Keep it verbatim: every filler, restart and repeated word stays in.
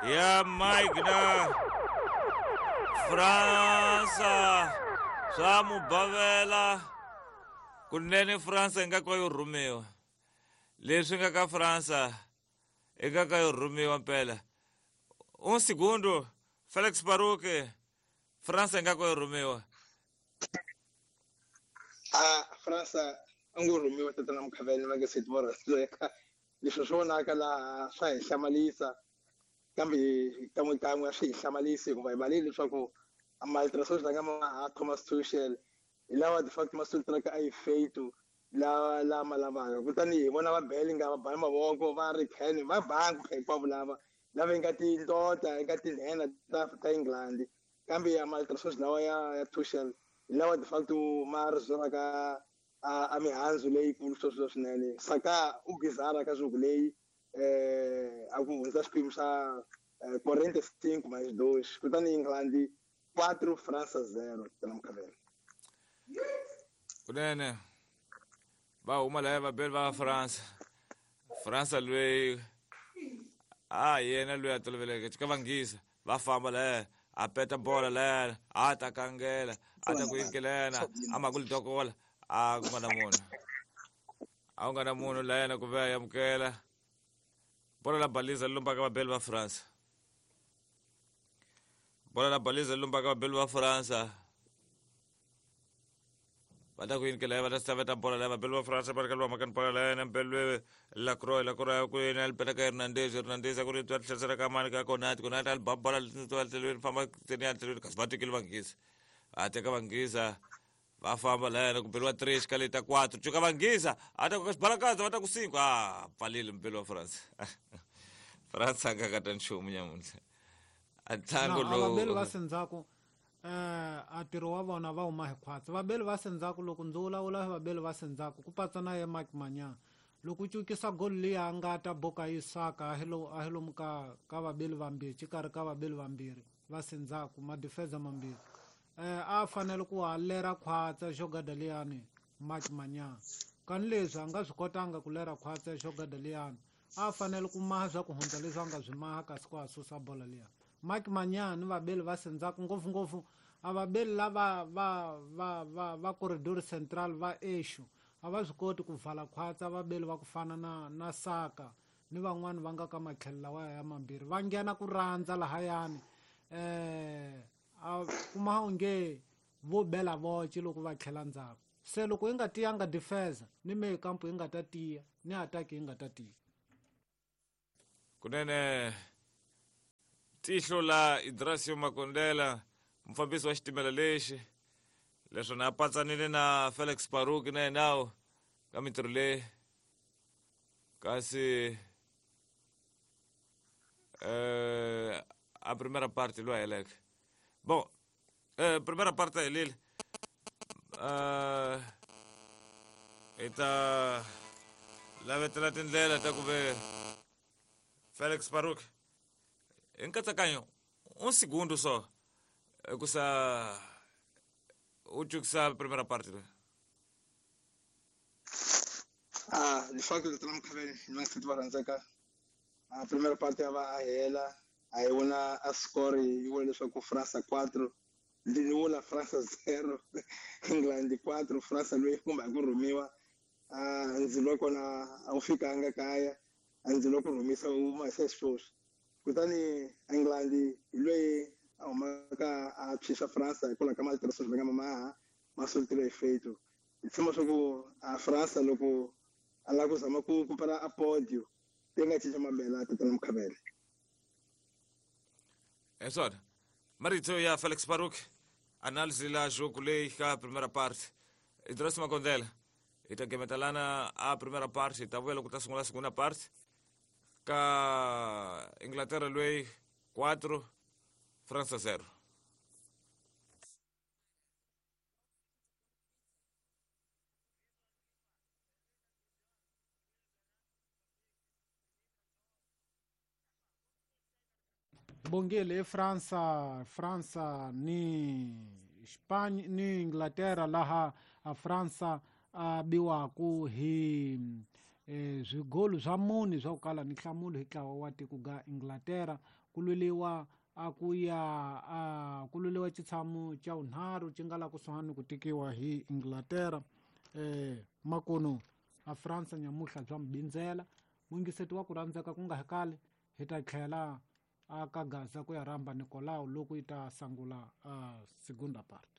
Ya Mike na Fransa swa mubavela kunene Fransa yi nga ka yo rhumiwa leswi nga ka Fransa i nga ka yo rhumiwa mpela un segundo Felix Baruque Fransa yi nga ka yo rhumiwa a Fransa a ngo rhumiwa tatana Mukhavele va nge se tiva leswi swi vonaka laha swa hi hlamarisa kambe kan'we kan'we a swi hi hlamarisi hikuva hi valile leswaku maltraso nga ma Thomas Tuchel hi lawa de facto ma sultraka a yi feito lawa lama lavaka kutani hi vona va Bellingham va bana mavoko va ri Kane va bangu hinkwavo lava lava yi nga tindota yi nga tinhena ta ta England kambe ya maltraso lawa ya ya Tuchel hi lawa de facto ma ri zwelaka a a mihandzu leyikulu sweswo swinene Saka u bizarra ka jogo leyi eh a ku hundza xiphemu xa quarenta e cinco mais dois kutani England quatro França zero tana Mukhavele kunene va huma laya vabeli va Fransa Fransa loyi a yena loyi a toloveleke ka vanghisa va famba laya a peta bola laya a ta kangela a ta ku yinkelena a ma ku lidokola a ku nga na munhu a ku nga na munhu laya ku ve a amukela bola la baliza lombaka vabeli va Fransa bola la baliza lombaka vabeli va Fransa va ta ku yinikela va ta staveta bola laya vabeli va Fransa va ri ka lwa makani bola laya na mbelwe Lacroix Lacroix ku yena li peta ka Hernandez Hernandez ku ri twa tlherisela ka mani ka Konate Konate a li ba bola tlhelweni famba tseni ya tlhelweni kasi va tekile vanghisa a teka vanghisa va famba laya ku beliwa três ka leta quatro cuka vanghisa a ta ku xibalakaza va ta ku cinco a pfalile mbeli wa Fransa Fransa a nga ka ta nchumu nyamuntlha a ntlangu lowu vabeli va sendzhaku eh a ntirho wa vona va huma hi khwatsi vabeli va sendzhaku loko ndzi vulavula vabeli va sendzhaku ku patsa na ye Mike Manyana loko u cukisa golo liya a nga ta boka yi saka a hi lo a hi lomu ka ka vabeli vambirhi xikarhi ka vabeli vambirhi va sendzhaku madifeza mambirhi eh a fanele ku a lera khwatsa xogada liyani Mike Manyana kani leswi a nga swi kotanga ku lera khwatsa xogada liyani a fanele ku maha swa ku hundza leswi a nga swi maha kasi ku a susa bola liya Mike Manyana ni vabeli va sendzhaku ngopfungopfu a vabeli lava va va va va corridor central va exu a va swi koti ku vala khwatsa vabeli va ku fana na na Saka ni van'wani va nga ka matlhelo lawa ya mambirhi va nghena ku rhandza lahayani eh a kuma onge vo bela voce loko va tlhela ndzhaku se loko yi nga tiyanga defense ni meyi kampo yi nga ta tiya ni attack yi nga ta tiya kunene tihlo la Idrasio Makondela mufambisi wa xitimela lexi leswi na patsanile na Felix Baruque na yenawo ka mintirho leyi kasi eh a primeira parte loyi a heleke bom eh primeira parte helile eh hi ta lavetela tindlela ta ku ve Felix Baruque hi nkatsakanyo un segundo só ku sa u cukisa primeira parte loyi ah de facto tatana Mukhavele ni va nga va rhandzaka a primeira parte ya va a hela a hi vona a score yi vula leswaku Fransa quatro ni vula Fransa zero England quatro Fransa loyi kumbe a ku rhumiwa a ndzilo wa kona a wu fikanga kaya a ndzilo wa ku rhumisa wu huma se sweswi kutani England hi loyi a humaka a tshwisa Fransa hikwalaho ka maltraso va nga mamaha ma soltile hi feito hi tshemba swa ku a Fransa loko a lava ku zama ku kupela a podio ti nga cinca mabela tatana Mukhavele é swona marito ya Felix Baruque análise la jogo leyi ka primeira parte Idrasio Makondela hi ta gemetalana a primeira parte hi ta vuya loko ta sungula segunda parte ka Inglaterra loyi quatro França zero bongele Fransa Fransa ni Spain ni Inglaterra laha a Fransa a biwaku hi eh zwigolu swa mune swa ku kala ni nhlamulo hi ntlawa wa tiko ga Inglaterra ku lweliwa a ku ya a ku lweliwa xitshamo xa vunharhu xi nga la kusuhani ku tikiwa hi Inglaterra. Eh makono a France nyamuhla bya mbindzela mungiseti wa ku rhandzeka ku nga hekali hi ta tlhela a ka Gaza ku ya rhamba Nicolau loko yi ta sangula a segunda parte.